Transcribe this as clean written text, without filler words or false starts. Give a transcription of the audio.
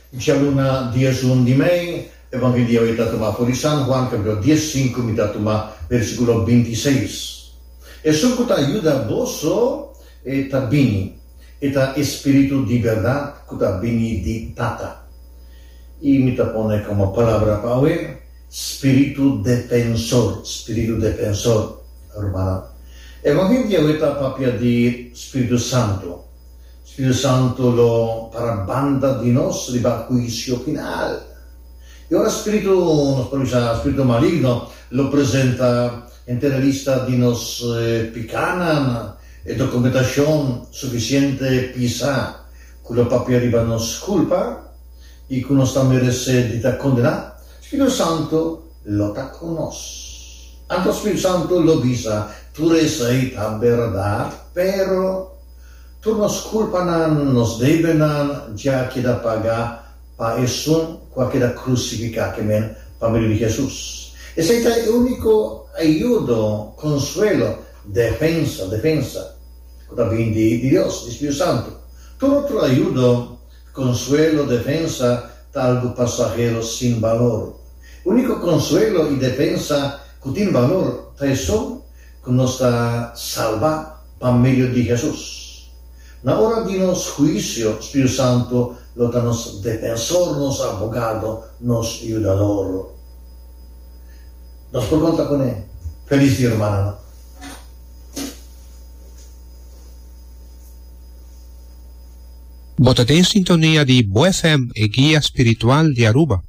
Djaluna 11 di mei, Evangelio awe ta tuma for di San Juan capítulo 15 mi ta tuma versículo 26. Esun ku ta yuda boso e ta bini, e ta e Spiritu di bèrdat ku ta bini di Tata. I mi ta pone komo palabra pa awe, Spiritu defensor, Spiritu defensor. Rumannan, Evangelio awe ta papia di Spiritu Santu. Spiritu Santu lo para banda di nos riba huisio final. I ora spiritu, nos por bisa spiritu maligno, lo presenta henter e lista di nos pikánan, e dokumentashon sufisiente pisá ku lo papia riba nos kulpa i ku nos ta meresé di ta kondená, Spiritu Santu lo ta ku nos. Anto Spiritu Santu lo bisa, Tur esei ta bèrdat, pero. Tur nos kulpanan, nos debenan dja keda pagá pa esun ku a keda krusifiká, ke men, pa medio di Hesus. Esei ta e úniko ayudo, konsuelo, defensa, defensa, ku ta bin di Dios, di Spiritu Santu. Tur otro ayudo, konsuelo, defensa ta algu pasahero sin balor. E úniko konsuelo i defensa ku tin balor ta esun ku nos ta salba pa medio di Hesus. Na ora di nos huisio, Spiritu Santu lo ta nos defensor, nos abogado, nos yudador. Nos por konta kuné. Felis dia, rumannan. Bo ta den sintonia di Bo FM, e guia spiritual di Aruba.